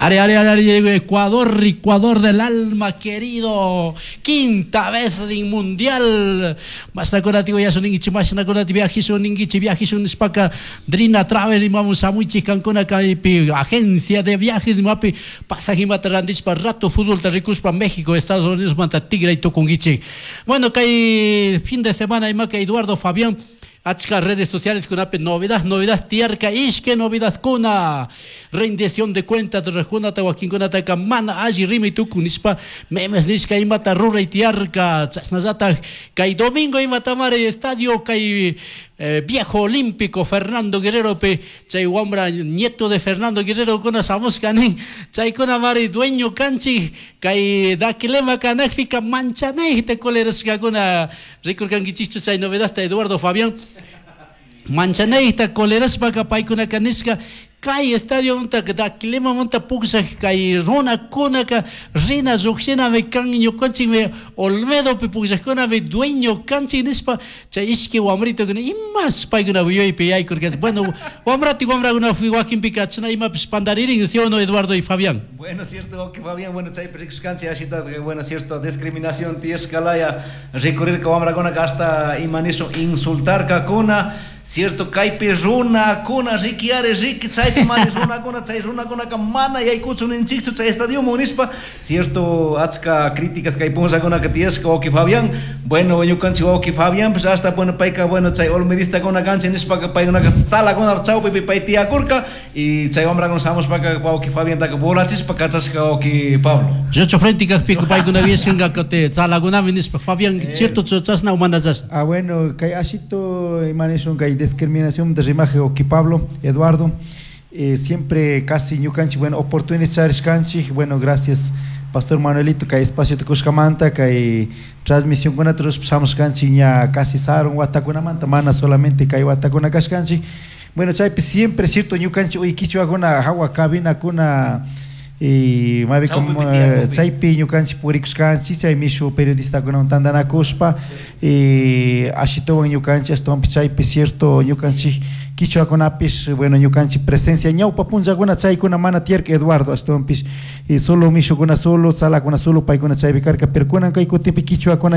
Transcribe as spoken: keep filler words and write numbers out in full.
Ari, ari, ari, ari, Ecuador, Ecuador del alma querido. Quinta vez en mundial. Mashnakunata yuyashun ninkichik, mashnakunata viajishun ninkichik, viajishun nishpaka Drina Travel imamun shamuichik kankuna kaypi agencia de viajes imapi pasajimata randishpa rato futbolta rikushpa México, Estados Unidos manta tigray tukunkichik. Bueno, kay fin de semana imaka Eduardo Fabián achka redes sociales kunapi novedad, novedad tiyarka ishke novedad kuna rendición de cuentas rurajkunata wakinkunataka mana alli rimay tukun nishpa memes nishka imata ruray tiyarka chashnallatak kay domingo imatamari estadio kay eh, viejo olímpico Fernando Guerrero pe chay wambra nieto de Fernando Guerrero kuna shamushka nin chaykuna mari dueño kanchik kay Daquilema kanakpika manchanayta colerashkakuna rikurkankichikchu chay novedadta Eduardo Fabián manchanayta colerashpaka paykunaka nishka kay estadio munta Daquilema munta pukllak kay runakunaka rina llukshinami kan ñukanchikmi Olmedopi pukllakkunami dueño kanchik nishpa chay ishki wamritukuna imash paykuna yuyaypi yaykurka. Bueno, wamrati wamrakuna wakinpika chashna imapish pantaririn, ¿sí o no, Eduardo y Fabián? Bueno, cierto que Fabián, bueno, chaypi rikushkanchik ashita, bueno, cierto, discriminación tiyashkalaya rikurirka wamrakunaka hasta ima nishun insultarkakuna, cierto, kaypi runakuna riki ari riki chaypi mari runakuna chay runakunaka mana yaykuchun ninchikchu chay estadioman nishpa, cierto, achka críticas kay punllakunaka tiyashka wawki Fabián. Bueno, ñukanchik wawki Fabián pues hasta, bueno, payka, bueno, chay olmedistakuna kanchik nishpaka paykunaka tzalakuna chawpipi pay tiyakurka y chay wamrakuna shamushpaka wawki Fabiantaka volachishpa kachashka, wawki Pablo. Yocho frente kakpika paykuna vieshanka te tzalakunami nishpa. Fabián, cierto chashna o mana chashna? Ah, bueno, kay ashito ima nishun kay discriminación de rimaje wawki Pablo, Eduardo, eh, siempre casi ñukanchik, bueno, oportunidad charishkanchik, bueno, gracias Pastor Manuelito kay espacio tukushkamanta kay transmisión kunata rurashpa shamushkanchik ña casi sarun watakunamanta, mana solamente kay watakuna kashkanchik. Bueno, chaypi siempre cierto ñukanchik uy kichwakuna hawa cabinakuna y mabi como chaypi ñukanchik purikushkanchik chay mishu periodistakunawan tantanakushpa y ashituwan ñukanchik ashtawanpish chaypi cierto ñukanchik kichwakunapish, bueno, ñukanchik presencia ñawpa punllakuna chaykuna mana tiyarka, Eduardo, ashtawanpish y solo mishukuna solo tzalakuna solo paykuna chaypi karka, pero kunan kay kutinpi kichwakuna